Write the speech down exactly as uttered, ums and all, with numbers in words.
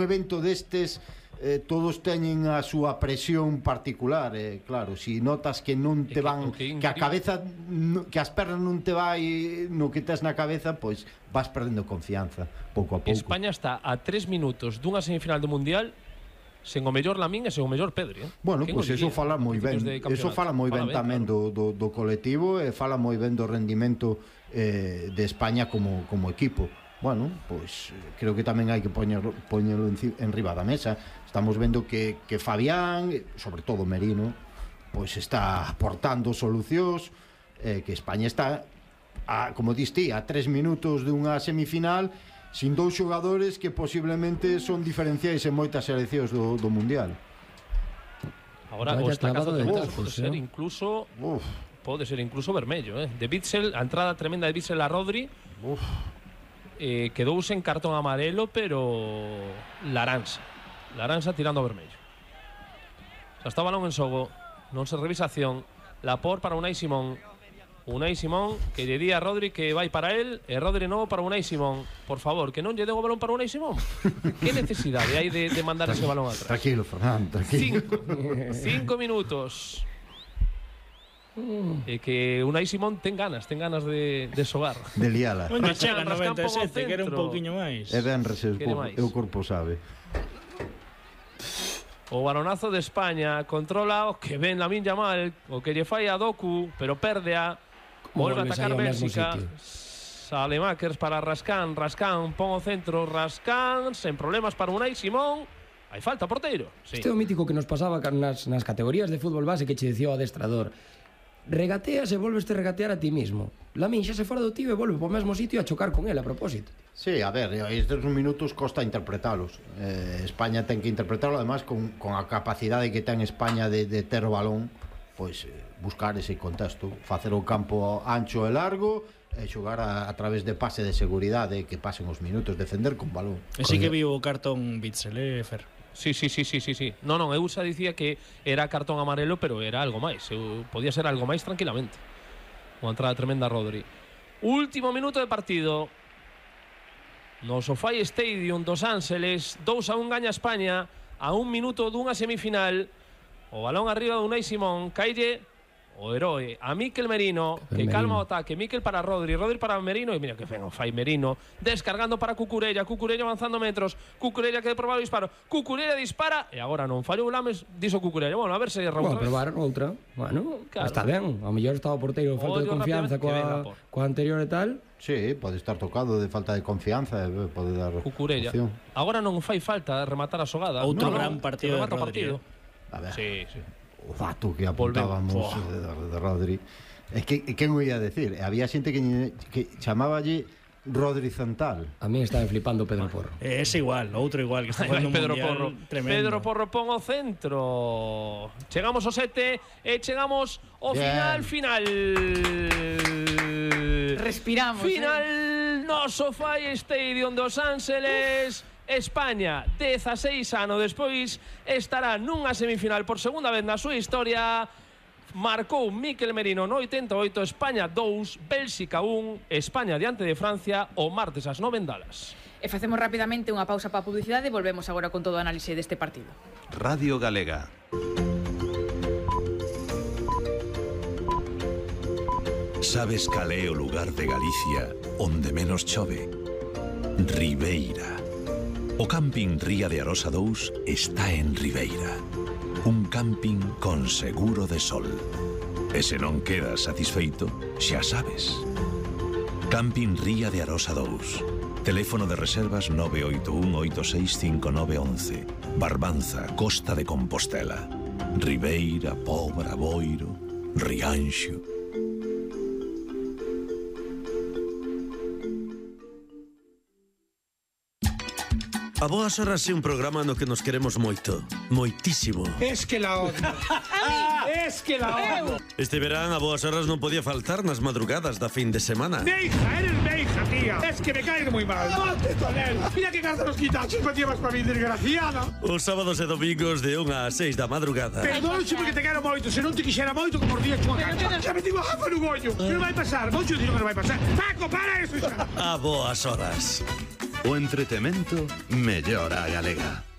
evento destes eh, todos teñen a súa presión particular, eh, claro, si notas que non te van, que, que a cabeza no, que as pernas non te vai no que tes na cabeza, pois vas perdendo confianza pouco a pouco. España está a tres minutos dunha semifinal do Mundial sen o mellor Lamín e sen o mellor Pedri, eh? Bueno, pois pues eso fala moi ben, eso fala moi ben tamén do, do, do colectivo e fala moi ben do rendimento eh, de España como, como equipo. Bueno, pois pues, creo que tamén hai que poñerlo, poñerlo en, en riba da mesa. Estamos vendo que, que Fabián, sobre todo Merino, pois pues está aportando solucións, eh, que España está a, como diste, a tres minutos dunha semifinal sin dous xogadores que posiblemente son diferenciais en moitas seleccións do, do Mundial. Agora, o estacazo de Uf, pode ser eh? incluso Uf. pode ser incluso vermello, eh? De Witsel, a entrada tremenda de Witsel a Rodri. Uf. Eh, quedouse en cartón amarelo, pero Laransa Laransa tirando vermello. Xa está o balón en xogo, non se revisa acción. Laporte para Unai Simón. Unai Simón que lle di a Rodri que vai para él, e Rodri novo para Unai Simón. Por favor, que non lle den o balón para Unai Simón. Que necesidade hai de, de mandar ese balón atrás? Tranquilo, Fernando, tranquilo. Cinco, cinco minutos. E que Unai Simón ten ganas, ten ganas de, de xogar. De liala. Onde chega noventa e sete, que era un pouquiño máis. É ben rese, o corpo sabe. O balonazo de España controla o que ven Lamine Yamal, o que lle fai a Doku, pero perde a. Volve a atacar Bélxica. Salemakers para Rascán, Rascán pon o centro, Rascán sen problemas para Unai Simón. Hai falta, porteiro. Sí. Este é o mítico que nos pasaba nas, nas categorías de fútbol base que che dicía o adestrador. Regateas e volves te regatear a ti mismo. Lamín xa se fora do tío e volve po mesmo sitio a chocar con él a propósito. Sí, a ver, estes minutos costa interpretalos. eh, España ten que interpretarlo, además con, con a capacidade que ten España de, de ter o balón, pois eh, buscar ese contexto, facer o campo ancho e largo e xogar a, a través de pase de seguridade, que pasen os minutos, defender con balón. E si que viu o cartón Witsel, eh, Fer? Sí, sí, sí, sí, sí, sí. No, non, eu xa dicía que era cartón amarelo, pero era algo máis. Eu, podía ser algo máis tranquilamente. Unha entrada tremenda a Rodri. Último minuto de partido. No SoFi Stadium dos Ángeles, dous a un gaña España a un minuto dunha semifinal. O balón arriba de Unai Simón, caille o heroe a Mikel Merino, que calma o ataque. Mikel para Rodri, Rodri para Merino, e mira que fen o fai Merino, descargando para Cucurella, Cucurella avanzando metros, Cucurella que de probar o disparo, Cucurella dispara e agora non fallou Lames, dixo Cucurella. Bueno, a ver se é Raúl. Bueno, probar outra. Bueno, claro, está ben. Ao mellor estaba o porteiro falta de confianza coa, coa anterior e tal. Sí, pode estar tocado de falta de confianza, pode dar Cucurella. Opción. Agora non fai falta rematar a xogada. Outro no, gran partido de Rodri. A ver. Sí, sí. O dato que apuntábamos de, de, de Rodri. É que, que non ia decir? Había xente que, que chamáballe Rodri Central. A mí estaba flipando Pedro Porro. É ese igual, outro igual que está jugando un Pedro mundial Porro. Tremendo. Pedro Porro pon o centro. Chegamos ao sete e chegamos ao final, final. Respiramos. Final eh? no SoFi Stadium dos Ángeles. Uf. España, dezaseis anos despois, estará nunha semifinal por segunda vez na súa historia. Marcou Mikel Merino no oitenta e oito, España dous, Bélxica un, España diante de Francia o martes ás nove en Dallas. E facemos rapidamente unha pausa para a publicidade e volvemos agora con todo o análise deste partido. Radio Galega. Sabes cal é o lugar de Galicia onde menos chove? Ribeira. O camping Ría de Arosa dous está en Ribeira. Un camping con seguro de sol. E se non quedas satisfeito, xa sabes. Camping Ría de Arosa dous. Teléfono de reservas nove oito un oito seis cinco nove once. Barbanza, Costa de Compostela. Ribeira, Pobra, Boiro, Rianxo. A Boas Horas é un programa no que nos queremos moito, moitísimo. Es que la odio. Es que la odio. Este verán a Boas Horas non podía faltar nas madrugadas da fin de semana. Neija, eres neija, tía. Es que me caes moi mal. Ponte con él. Mira que carta nos quitaches me llevas para mí, desgraciada. Os sábados e domingos de unha a seis da madrugada. Perdónxe porque te quero moito. Se non te quixera moito, como os días chunha cancha. Xa me digo a jafa no gollo. Que non vai pasar. Moito digo que non vai pasar. Paco, para eso. A Boas Horas. O entretemento mellora a galega.